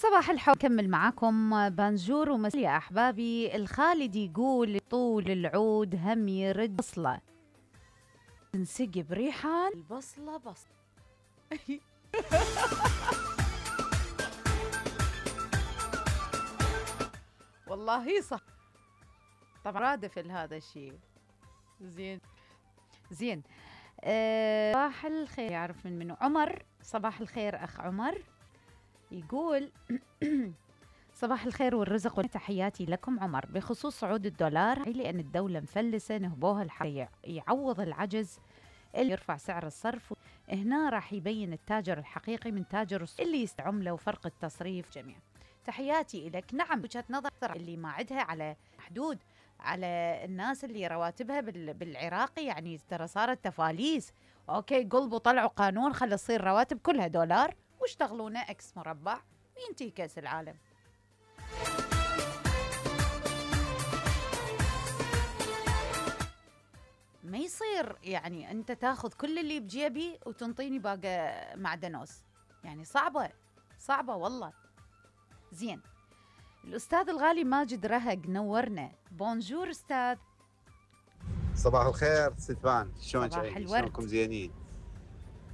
صباح الحب، كمل معاكم بانجور ومساء يا أحبابي. الخالد يقول طول العود هم يرد بصلة تنسقي بريحان البصلة بصلة. والله صح، طبعا رادف هذا الشيء. زين زين. صباح الخير، يعرف منه عمر. صباح الخير أخ عمر. يقول صباح الخير والرزق وتحياتي لكم عمر. بخصوص صعود الدولار، لأن الدولة مفلسة نهبوها الحق يعوض العجز اللي يرفع سعر الصرف. هنا راح يبين التاجر الحقيقي من تاجر اللي يستعمله وفرق التصريف جميع. تحياتي إليك. نعم، وجهة نظر اللي ما عندها على حدود، على الناس اللي رواتبها بالعراقي يعني ترى صارت تفاليس. أوكي، قلبوا طلعوا قانون خلي تصير رواتب كلها دولار واشتغلونا اكس مربع وينتهي كأس العالم. ما يصير يعني أنت تاخذ كل اللي بجيبي وتنطيني باقي معدنوس، يعني صعبة والله. زين. الأستاذ الغالي ماجد رهق نورنا. بونجور أستاذ. صباح الخير ستفان، شلونك؟ صباح الورد. شلونكم؟ زينين؟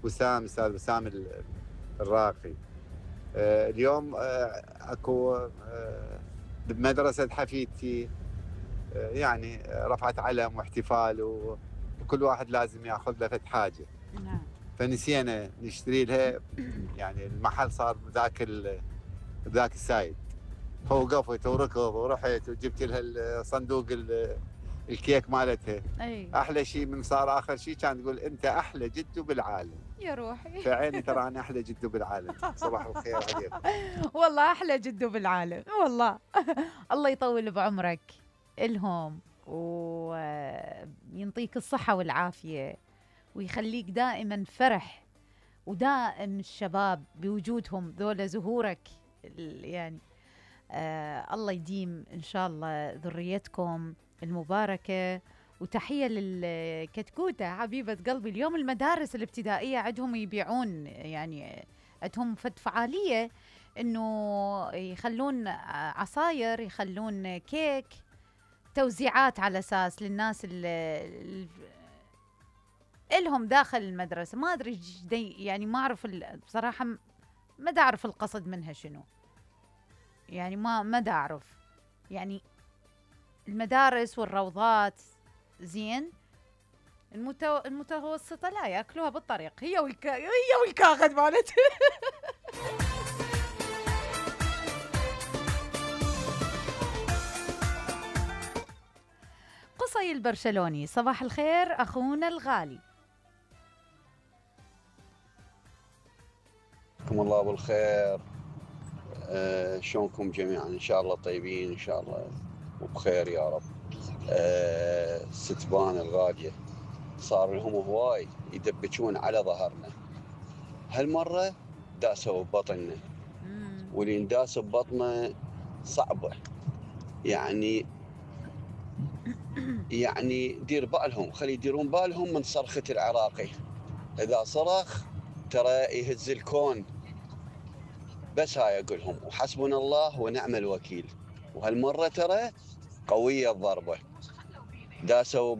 وسام، استاذ وسام الراقي. اليوم اكو بمدرسة حفيدتي يعني رفعت علم واحتفال، وكل واحد لازم ياخذ له فد حاجة. نعم. فنسينا نشتري لها، يعني المحل صار ذاك السايد. فوقفت وركض ورحت وجبت لها صندوق الكيك مالتها. أي. احلى شيء من صار اخر شيء كان تقول انت احلى جدو بالعالم. يا روحي. فعيني ترى انا احلى جدو بالعالم. صباح الخير عليكم. والله احلى جدو بالعالم والله. الله يطول بعمرك الهم وينطيك الصحة والعافية ويخليك دائما فرح ودائم الشباب بوجودهم ذولا زهورك يعني. الله يديم إن شاء الله ذريتكم المباركة. وتحية للكتكوتة حبيبة قلبي. اليوم المدارس الابتدائية عندهم يبيعون، يعني عندهم فعالية إنه يخلون عصاير، يخلون كيك، توزيعات على أساس للناس اللي إلهم داخل المدرسة. ما أدري يعني ما أعرف بصراحة، ما دا أعرف القصد منها شنو، يعني ما دا أعرف. يعني المدارس والروضات زين، المتوسطة لا يأكلوها بالطريق، هي والكاغد مالت. قصي البرشلوني. صباح الخير أخونا الغالي. حياكم الله بالخير. شلونكم جميعا؟ ان شاء الله طيبين ان شاء الله وبخير يا رب. ستبان الغالية صار لهم هواي يدبجون على ظهرنا. هالمرة داسوا ببطننا، واللي نداس ببطنه صعبة. يعني دير بالهم، خلي يديرون بالهم من صرخة العراقي. إذا صرخ ترى يهز الكون. بس هاي أقولهم، وحسبنا الله ونعم الوكيل. وهالمرة ترى قوية الضربة، داسوا